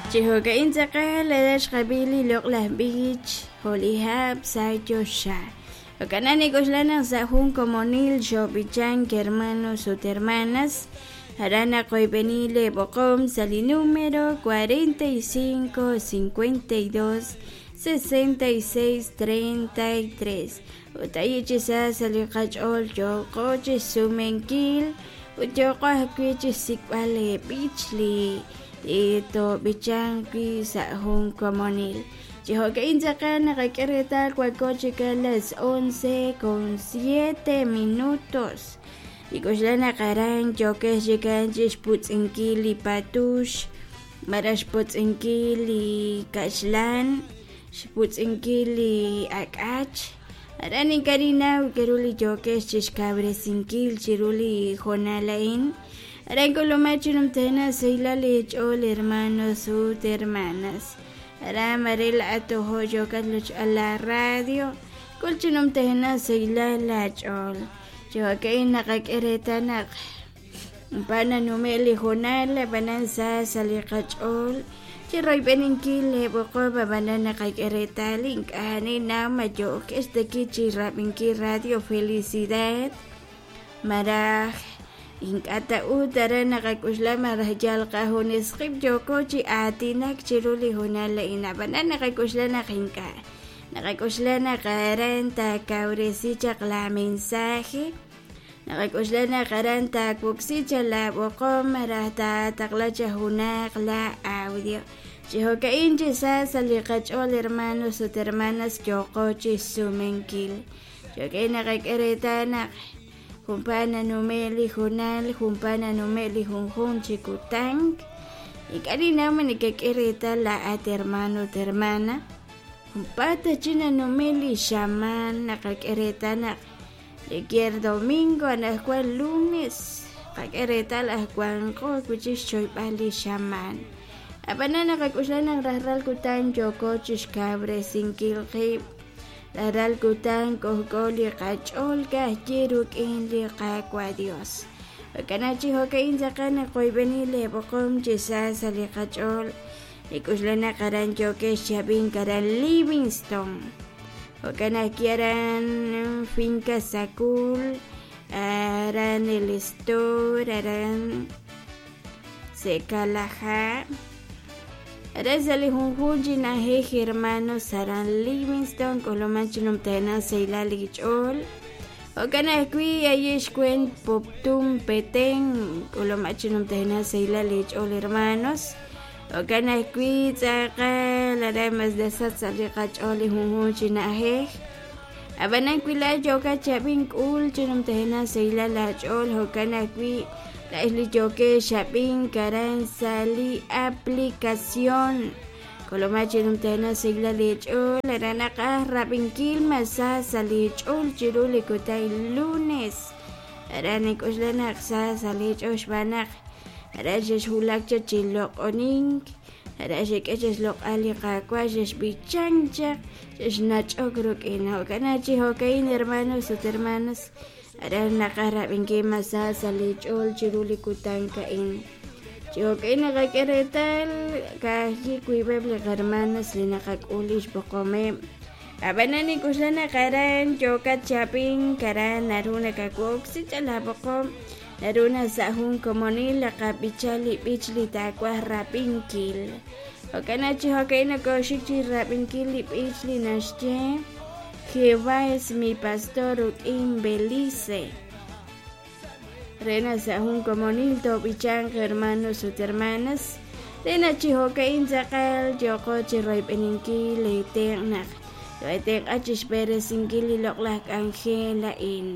Chi jo'ka'in tz'aqal aran xqab'i li loq'laj b'ich jo' li hab' sa' choxa. Jo'kan naq nik'oxla naq sa' jun komonil xoob'ichank hermanos ut hermanas, aran naqoyb'eni leeb'oqom sa' li número 45 52 66 33 ut ayi' chi sa sa' li qach'ool yooqo chi xsumenkil ut yooqo ajwi' chi xsik'b'al leeb'ich li toob'ichanq wi' sa' jun komonil. Chi jo'ka'in tz'aqal naqak'e reetal wanko chik a las 11 con 7 minutos. Nik'oxla naq aran yookex chikan chi xputz'inkil li patux, malaj xputz'inkil li kaxlan, xputz'inkil li ak'ach. Aran ink'a' ninnaw k'aru li yookex chi xkawresinkil chiru li hoonal a'in. Aran k'ulumak chi numtajenaq xsahilal eech'ool hermanos ut hermanas. Aran mare laa'at tojo' yookat loch'al la radio, k'ul chi numtajenaq xsahilal laach'ool. Chi jo'ka'in naqak'e reetal naq pa nanume' li hoonal, ab'anan sa sa' li qach'ool chi royb'eninkil leeb'oqom, ab'anan naqak'e reetal ink'a' ninnaw ma yookex taki chi rab'inkil Radio Felicidad malaj ink'a' ta ut aran naqak'oxla malaj yal qajunes qib' yooko chi aatinak chiru li hoonal a'in, ab'anan naqak'oxla naq ink'a'. Naqak'oxla naq aran taakawresi chaq la mensaje, naqak'oxla naq aran taawoksi chaq laab'oqom malaj taataqla chaq junaq la audio. Chi jo'ka'in chi sa sa' li qach'ool hermanos ut hermanas yooqo chi xsumenkil. Jo'ka'in naqak'e reetal naq junpaat nanume' li hoonal, junpaat nanume' li junjunq chi kutan. Ink'a' ninnaw ma nekek'e reetal laa'at hermano ut hermana. Junpaat chi nanume' li xamaan naqak'e reetal naq li kier domingo anaqwan lunes qak'e reetal aj wanqo wi' chik xchoyb'al li xamaan. Ab'anan naqak'oxla naq rajlal kutan yooko chi xkawresinkil qib', rajlal kutan k'ojk'o li qach'ool ka'ajwi' rik'in li Qaawa' Dios. Jo'kan naq chi jo'ka'in tz'aqal naqoyb'eni leeb'oqom chi sa sa' li qach'ool. Nik'oxla naq aran yookex chi ab'ink aran Livingston. Jo'kan ajwi' aran Finca Sacul, aran El Estor, aran Secalaja. Aran sa' li junjunq chi na'ajej hermanos aran Livingston k'uluman chi numtajenaq sahilal li ch'ool. Jo'kan ajwi' ayi' xweent Poptún Petén k'uluman chi numtajenaq sahilal li ch'ool hermanos. Jo'kan ajwi' tz'aqal aran mas nasach sa' li qach'ool li junjunq chi na'ajej. Ab'anan wi laa'at yookat chi ab'ink k'ul chi numtajenaq sahilal laach'ool, jo'kan ajwi' laa'ex li yookex ab'ink aran sa' li aplicación. K'ulumaq chi numtajenaq sahilal leech'ool aran naqaj rab'inkil mas sa sa' leech'ool chiru li kutan lunes. Aran nink'oxla naq sa sa' leech'ool xb'aan naq Aran xexwulak chaq chi loq'onink, aran xek'e chaq xloq'al li Qaawa', xexb'ichank chaq, xexnach'ok rik'in. Jo'kan naq chi jo'ka'in hermanos ut hermanas, aran naqaj rab'inkil mas sa sa' li ch'ool chiru li kutan a'in. Chi jo'ka'in naqak'e reetal ka'ajwi' wiib'eb' li qahermanos li naqak'ul li xb'oqomeb'. Ab'anan nink'oxla naq aran yookat chi ab'ink, aran naru nakawoksi chaq laab'oqom. Naru naq sa' jun komonil naqab'icha li b'ich li taawaj rab'inkil. Jo'kan naq chi jo'ka'in nokooxik chi rab'inkil li b'ich li naxye Jehová es mi pastor rik'in Belice. Re naq sa' jun komonil toob'ichanq hermanos ut hermanas, re naq chi jo'ka'in tz'aqal yooqo chi royb'eninkil leetenq' naq too'eetenq'a chi xb'eresinkil li loq'laj k'anjel a'in.